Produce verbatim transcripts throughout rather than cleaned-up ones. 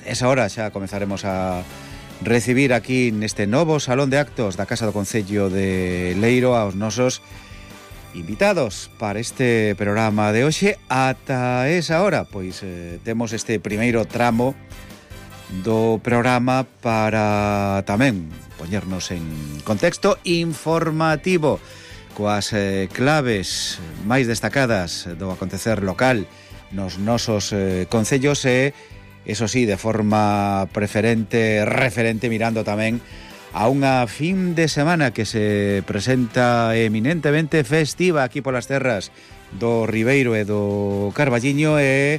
esa hora xa comezaremos a recibir aquí neste novo Salón de Actos da Casa do Concello de Leiro aos nosos invitados para este programa de hoxe. Ata esa hora, pois eh, temos este primeiro tramo do programa para tamén poñernos en contexto informativo coas eh, claves máis destacadas do acontecer local nos nosos eh, concellos e, eso sí, de forma preferente, referente, mirando tamén a unha fin de semana que se presenta eminentemente festiva aquí polas terras do Ribeiro e do Carballiño e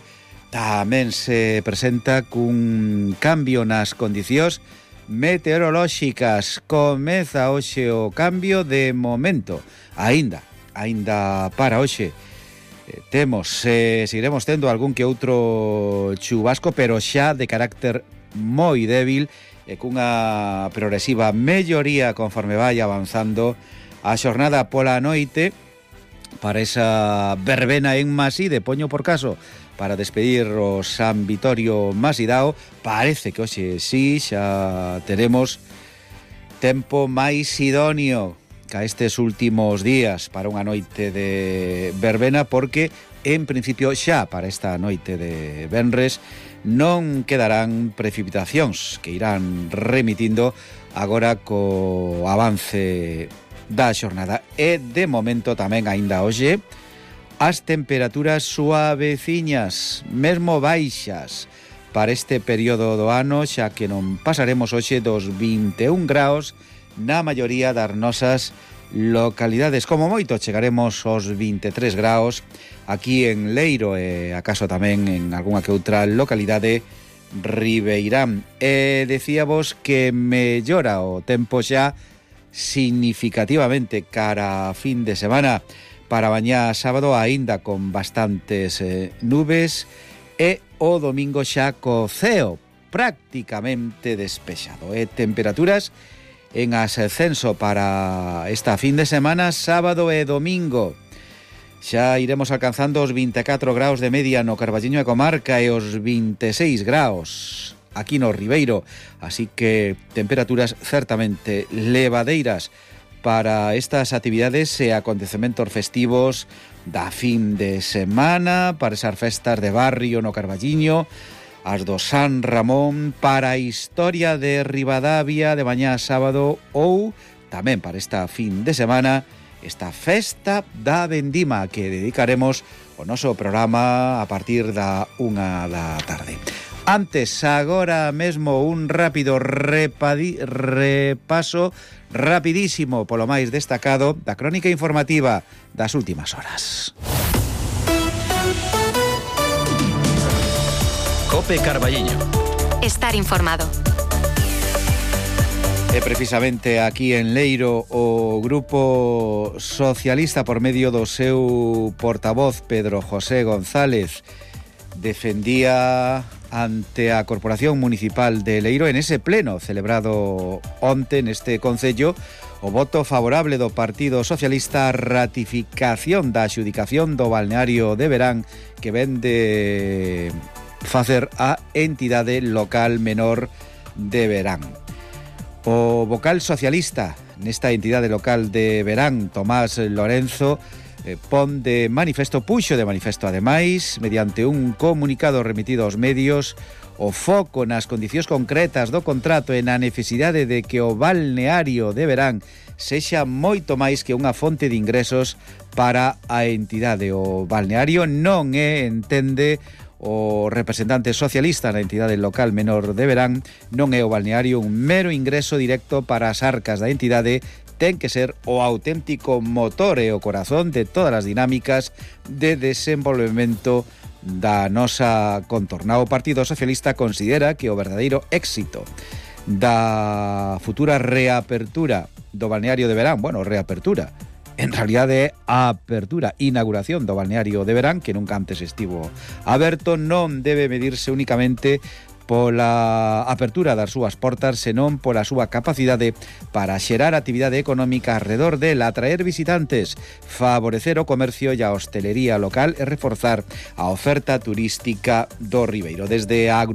tamén se presenta cun cambio nas condicións meteorolóxicas. Comeza hoxe o cambio de momento. Aínda, aínda para hoxe eh, temos, eh, seguiremos tendo algún que outro chubasco, pero xa de carácter moi débil e cunha progresiva melloría conforme vai avanzando a xornada pola noite para esa verbena en Maside, poño por caso, para despedir o San Vitorio Masidao. Parece que hoxe sí xa teremos tempo máis idóneo ca estes últimos días para unha noite de verbena, porque en principio xa para esta noite de venres non quedarán precipitacións que irán remitindo agora co avance da xornada. E de momento tamén aínda hoxe as temperaturas suaveciñas, mesmo baixas para este período do ano, xa que non pasaremos hoxe dos vinte e un graus na maioría das nosas localidades. Como moito chegaremos aos vinte e tres graus aquí en Leiro e acaso tamén en algunha que outra localidade ribeirán. E decíamos que mellora o tempo xa significativamente cara a fin de semana. Para mañá sábado aínda con bastantes eh, nubes e o domingo xa co ceo prácticamente despexado. E temperaturas en ascenso para esta fin de semana, sábado e domingo. Xa iremos alcanzando os vinte e catro graus de media no Carballiño e comarca e os vinte e seis graus aquí no Ribeiro. Así que temperaturas certamente levadeiras para estas actividades e acontecementos festivos da fin de semana, para esas festas de barrio no Carballiño, as do San Ramón, para a historia de Ribadavia de mañá sábado ou tamén para esta fin de semana, esta festa da vendima que dedicaremos o noso programa a partir da unha da tarde. Antes, agora mesmo, un rápido repadi, repaso rapidísimo polo máis destacado da crónica informativa das últimas horas. Cope Carballiño. Estar informado. E precisamente aquí en Leiro o Grupo Socialista, por medio do seu portavoz Pedro José González, defendía ante a Corporación Municipal de Leiro en ese pleno celebrado onte neste concello o voto favorable do Partido Socialista á ratificación da adxudicación do balneario de Verán que ven de facer a entidade local menor de Verán. O vocal socialista nesta entidade local de Verán, Tomás Lorenzo, eh, pon de manifesto, puxo de manifesto ademais, mediante un comunicado remitido aos medios, o foco nas condicións concretas do contrato e na necesidade de que o balneario de Verán sexa moito máis que unha fonte de ingresos para a entidade. O balneario non é, entende o representante socialista na entidade local menor de Verán, non é o balneario un mero ingreso directo para as arcas da entidade, ten que ser o auténtico motor e o corazón de todas as dinámicas de desenvolvemento da nosa contorna. O Partido Socialista considera que o verdadeiro éxito da futura reapertura do balneario de Verán, bueno, reapertura, en realidade a apertura, inauguración do balneario de Verán, que nunca antes estivo aberto, non debe medirse únicamente pola apertura das súas portas, senón pola súa capacidade para xerar actividade económica alrededor dela, atraer visitantes, favorecer o comercio e a hostelería local e reforzar a oferta turística do Ribeiro. Desde a agrupación